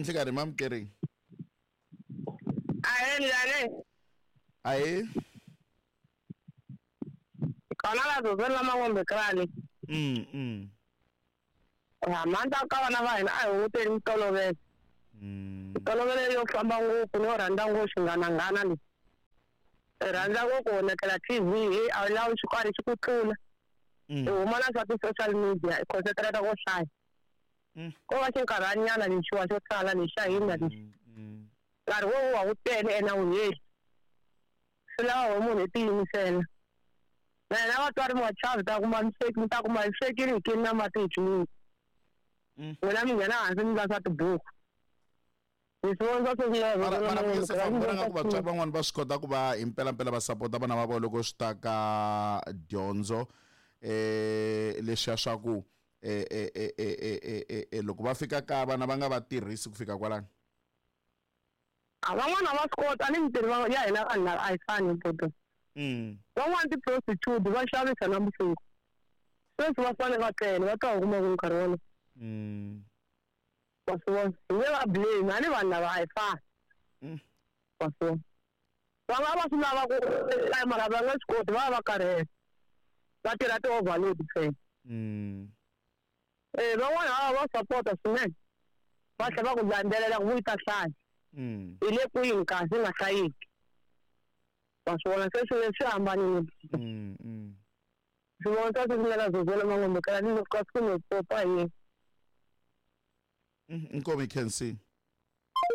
Nhlikani mamukeri. Ahee, njhani? Ahee. Kona la zozweni la Mangombe krani. Ya manta ka vana va hina a hi hunguteni mitolovelo. Mitolovelo yo famba ngopfu no rhandza ngopfu xinghananghana lexi. Hi rhandza ngopfu ku vonekela TV hi a wu lavi xo karhi xi ku tlula. Hi huma na swa ti-social media hi concentrate ko hlaya. Ko va xinkarhanyana lexiwa xo tala lexi xa hina lexi. Nkarhi wo wa wu tele ene a wu heli. Swi lava we munhu i tiyimisela. Na hina vatswari mi nga chavi ta kuma mi sweki mi ta kuma hi swekile hi kini na mati hi tliliniki. N'wina mi nghena hansi mi la swa tibuku. Hi swi vona swa sweswi Mara mara Yosefa mi vona nga ku vatswari van'wani va swi kota ku va hi mpelampela va sapota vana va vona loko swi ta ka dyondzo leswiya swa ku loko va fika kaya vana va nga va tirhisi ku fika kwalano. A van'wana va swi kota ni mintirho ya hina vanhu lava a yi fani buti. Van'wana ti-prostitute va xavisa navusiku. Sweswi va fanele va tlele va twa kuma ku nkarhi wolowo. Wa swi vona? Hi nge va blame a ni vanhu lava a hi fani. Wa swi vona? Va nga va swi lava ku mara va nge swi koti va va va karhele. Va tirha ti-overload ntsena. Van'wana va va sapota swinene. Va tlhela va ku landzelela ku yi ta hlaya. Hi le kwini kasi yi nga hlayiki. Wa swi vona? Se swilo leswi swi hambanile. Swi vona swa sweswi nga la Zozela Mangombe kaya ni loko ka siku ni popa hi yena. Inkomu yi khensi.